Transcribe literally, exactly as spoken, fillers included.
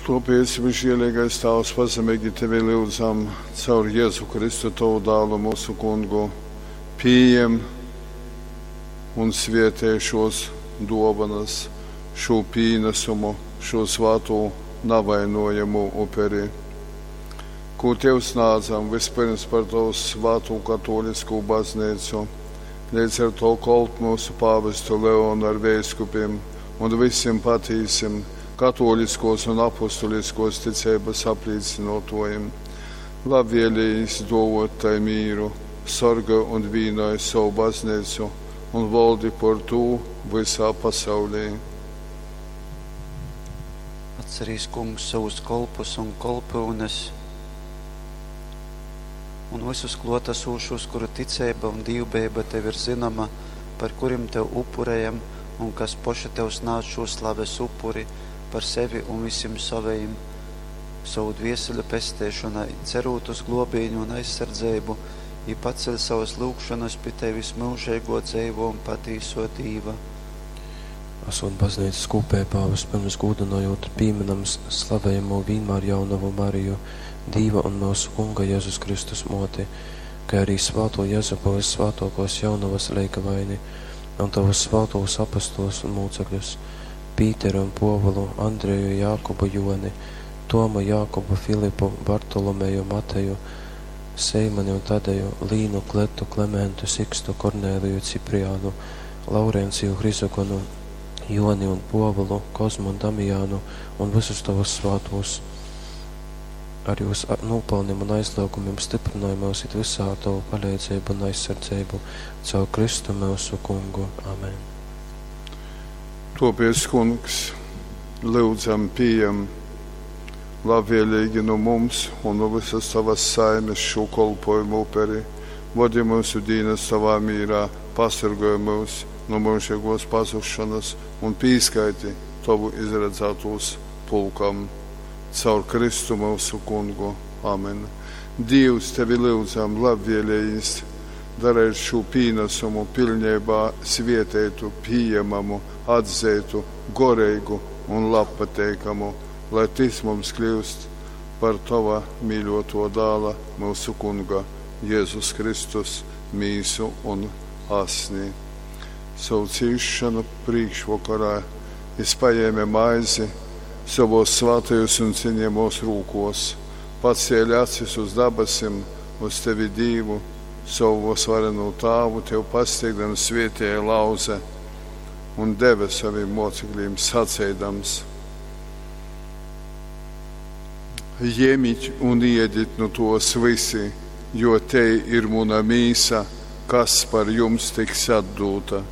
Tōpēc, visžielīgais Tāvs, pazemīgi Tevi lyudzam caur Jēzu Kristu, Tovu dālu, mūsu kungu, pījem un svietej šos dōvanas, šū pīnesumu, šū svātū navainojamū uperi, kū Tev snādzam vispirms par Tovu svātū katoliskū baznīcu, līdz ar to kolpu mūsu pāvestu Leonu ar veiskupiem un visiem patīsim katoliskos un apustuliskos ticības aplīcinotojiem. Labvēlījis dovot tai mīru, sorgoj un vīnoj savu baznīcu un valdi por tū visā pasaulī. Atcerīs, Kungs, savus kolpus un kolpyunes un visus klōtasūšos, kuru ticeiba un dīvbejeiba Tev ir zynoma, par kurim Tev upurejam un kas poši Tev snādz šū slaves upuri par sevi un visim sovejim, sovu dvieseļu pesteišonai, cerūt uz glōbīni un aizsardzeibu, jī paceļ sovas lyugšonas pi Tevis, myužeigō, dzeivō un patīsō Dīva. Asot baznīcas kūpeibā, vispirms gūdynojot pīminam slavejamo vīnmār jaunovu Mariju, Dīva un myusu Kunga Jezus Kristus mōti, kai arī svātū Jezupu vyssvātōkōs jaunovas leigavaini un tovus svātūs apostolus un mūcekļus, Pīteru un Pōvulu, Andreju, Jākubu, Joni, Tomu, Jākubu, Filipu, Bartolomeju, Mateju, Seimani un Tadeju, Līnu, Kletu, Klementu, Sikstu, Kornēliju, Cipriānu, Laurenciju, Hrizogonu, Joni un Pōvulu, Kozmu un Damijānu un visus tovus svātūs. Ar jūs nopelniem un aizliegumiem stiprinoj myus it visā ar tavu paleidzeibu un aizsardzeibu caur Kristu myusu Kungu. Amen. Tōpēc, Kungs, lyudzam, pījem labvēlīgi nu mums un nu visas tavas saimes šo kolpojumu uperi. Vodi mūsu dīnas tavā mīrā, pasargoj mūs no mūžīgos pazušanas un pīskaiti tavu izredzētos pulkam. Caur Kristu mūsu kungu. Amen. Dievs, tevi lyudzam, labvēlējis, darēt šo pīnesumu pilnībā svietētu, pieejamamu, atzētu, goreigu un labpateikamu, lai tis mums kļūst par tava mīļoto dāla, mūsu kunga, Jēzus Kristus, mīsu un asni. Savu cīšanu priekšvakarā es paņēmu maizi savos svētajos un cienījamos rūkos, pacēli acis uz dabasim, uz tevi Dievu, savu svareno tāvu, tev pasteigdams svietēja lauze un deva saviem mocekļiem sacēdams. Jemit un iedit nu tos visi, jo te ir muna mīsa, kas par jums tiks atdūta.